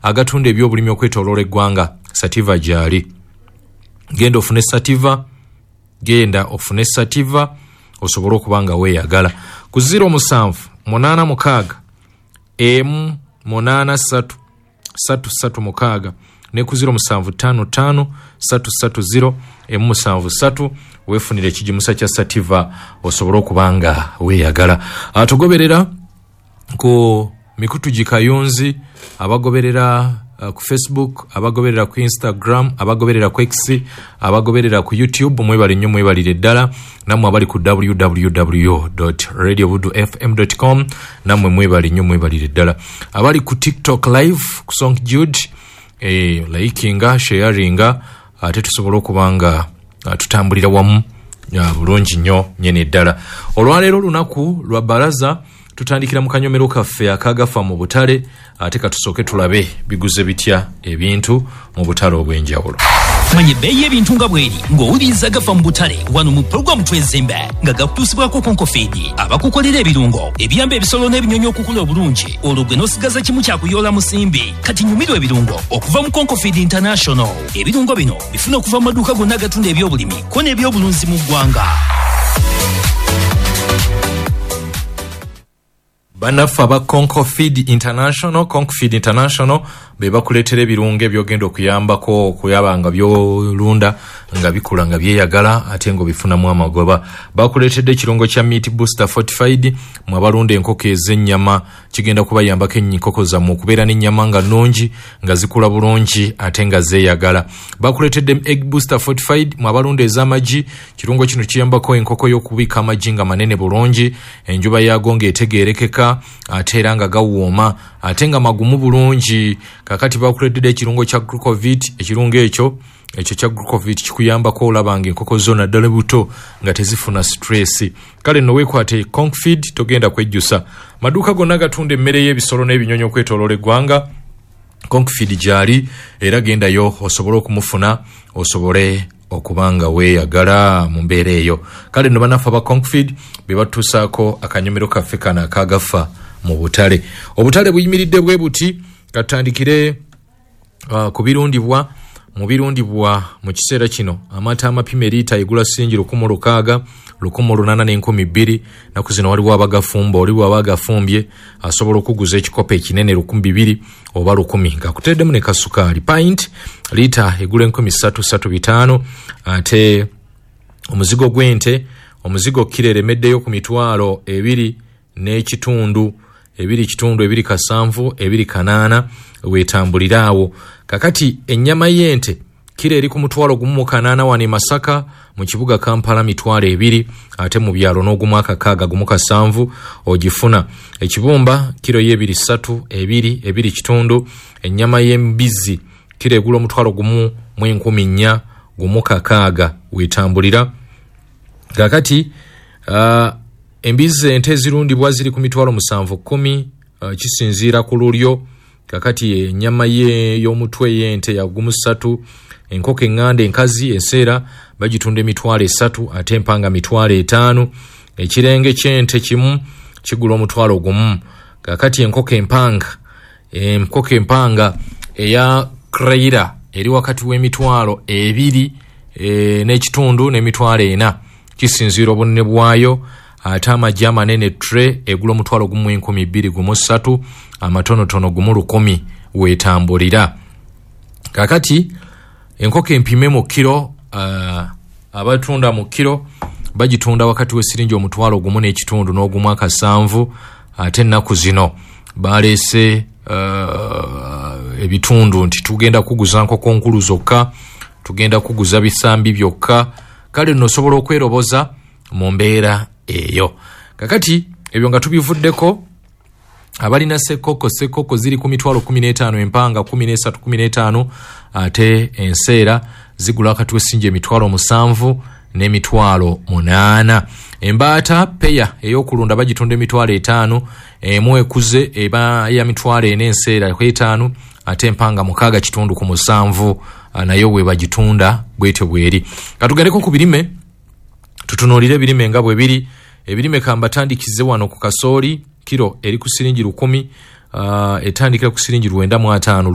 Agatunda ebyobulimi okwetooloola eggwanga, Sativa gyali. Genda ofune Sativa, genda ofune Sativa osobole okuba nga weeyagala. Ku 07 86 emu 83 336 ne ku 0755 330 173 weefunire ekigimusa kya Sativa osobole okuba nga weeyagala. Atugoberera ku mikutu gikayunzi, abagoberera ku Facebook, abagoberera ku Instagram, abagoberera ku X, abagoberera ku YouTube, mwebale nnyo, mwebalire ddala. Nammwe abali ku www.radiobudufm.com, nammwe mwebale nnyo, mwebalire ddala. Abali ku TikTok live ku Song Jude, likinga, sharinga, ate tusobole okuba nga tutambulira wamu bulungi nnyo nnyini ddala. Olwaleero olunaku lwa baraza, tutandikira mu kanyomero kaffe akagafa mu butale, ate katusooke tulabe biguze bitya ebintu mu butale obw'enjawulo. Manya ebbeeyi y'ebintu nga bw'eri ng'owuliriza Gafa mu butale wano mu pulogulaamu Twezimbe, nga gakutuusibwako Konko Feed, abakukolera ebirungo ebiyamba ebisolo n'ebinyonyi okukula obulungi, olwo gwe n'osigaza kimu kyakuyoola musimbi. Kati nyumirwa ebirungo okuva mu Konko Feed International. Ebirungo bino bifuna okuva mu maduuka gonna agatunda ebyobulimi ko n'ebyobulunzi mu ggwanga. Bannaffe aba Concofeed International, Concofeed International be bakuleetera ebirungo ebyogenda okuyambako okuyaba nga byolunda nga bikula nga byeyagala ate ng'obifunamu amagoba. Bakuleetedde ekirungo kya Meat Booster Fortified. Mwe abalunda enkoko ez'ennyama, kigenda kubayambako enkoko zammwe okubeera n'ennyama nga nnungi, nga zikula bulungi ate nga zeeyagala. Bakuleetedde Egg Booster Fortified. Mwe abalunda ez'amagi, kirungo kino kiyambako enkoko y'okubika amagi nga manene bulungi, enjuba yaago ng'etegeerekeka, ate era nga gawooma ate nga magumu bulungi. Kakati bakuleetedde ekirungo kya Glucovit. Ekirungo ekyo kya Glucovit kikuyambako olaba nga enkoko zo naddala buto nga tezifuna stress. Kale nno weekwate Concfeed, togenda kwejjusa. Maduuka gonna gatunda emmere y'ebisolo n'ebinyonyi okwetooloola eggwanga, Concfeed gyali, era gendayo osobole okumufuna, osobole okuba nga weeyagala mu mbeera eyo. Kale nno bannaffe aba Concfeed be batuusaako akanyomero kaffe kano akagafa mu butale. Obutale buyimiridde bwe buti. Katutandikire ku birundibwa. Mu birundibwa mu kiseera kino, amata amapima eriita egula siringi 1,600, 1,800 n'2,000. Naku zino waliwo abagafumba, oli bw'aba agafumbye asobola okuguza ekikopo ekinene 2,000 oba 1,000 ng'akuteereddemu ne kasukaali. Pint liita egula 3,000, 3,500. Ate omuzigo gw'ente, omuzigo kiro eremeddeyo ku 2,500, 2.5, 2.7, 2.8, weetambulira awo. Kakati ennyama y'ente kiro eri ku 1,800 wano e Masaka, mu kibuga Kampala 20,000, ate mu byalo n'ogumu akakaaga, 1.7 ogifuna. Ekibumba kiro y'ebiri ssatu, 2, 2.5. Ennyama y'embizzi kiro egula 1,400, 1.6, weetambulira. Kakati embizzi ente ezirundibwa ziri ku 7,710, kisinziira ku lulyo. Kakati ennyama y'omutwe y'ente ya 1.3. Enkoko eŋŋanda enkazi enseera bagitunda 300,000, ate empanga 500,000. Ekirenge ky'ente kimu kigula 1,000. Kakati enkoko empanga eya Creira eri wakati w'emitwalo 2.5 n'400,000, kisinziira obunene bwayo. Ate amagi amanene tray egula 1,200, 1.3, amatonotono 1,100, weetambulira. Kakati enkoko empime mu kiro, abatunda mu kiro bagitunda wakati w'esiringi 1,500 n'1.7. Ate ennaku zino baleese ebitundu nti tugenda kuguza nkoko nkulu zokka, tugenda kuguza bisambi byokka. Kale nno osobola okweroboza mu mbeera eyo. Kakati ebyo nga tubivuddeko, abalina sekoko, sekoko ziri ku 15,000, empanga 13, 15, ate enseera zigula wakati w'essingi 7,000 n'8,000. Embaata peya ey'okulunda bagitunda 500,000, emu ekuze eba ya 400,000, enseera ku 5, ate empanga 6.5 ku 7, nayo bwe bagitunda bwetyo bweri. Katugendeko ku birime, tutunuulire ebirime nga bwe biri. Ebirime kambatandikize wano ku kasooli. Kiro eri ku siringi 1,000, etandikira ku siringi 950.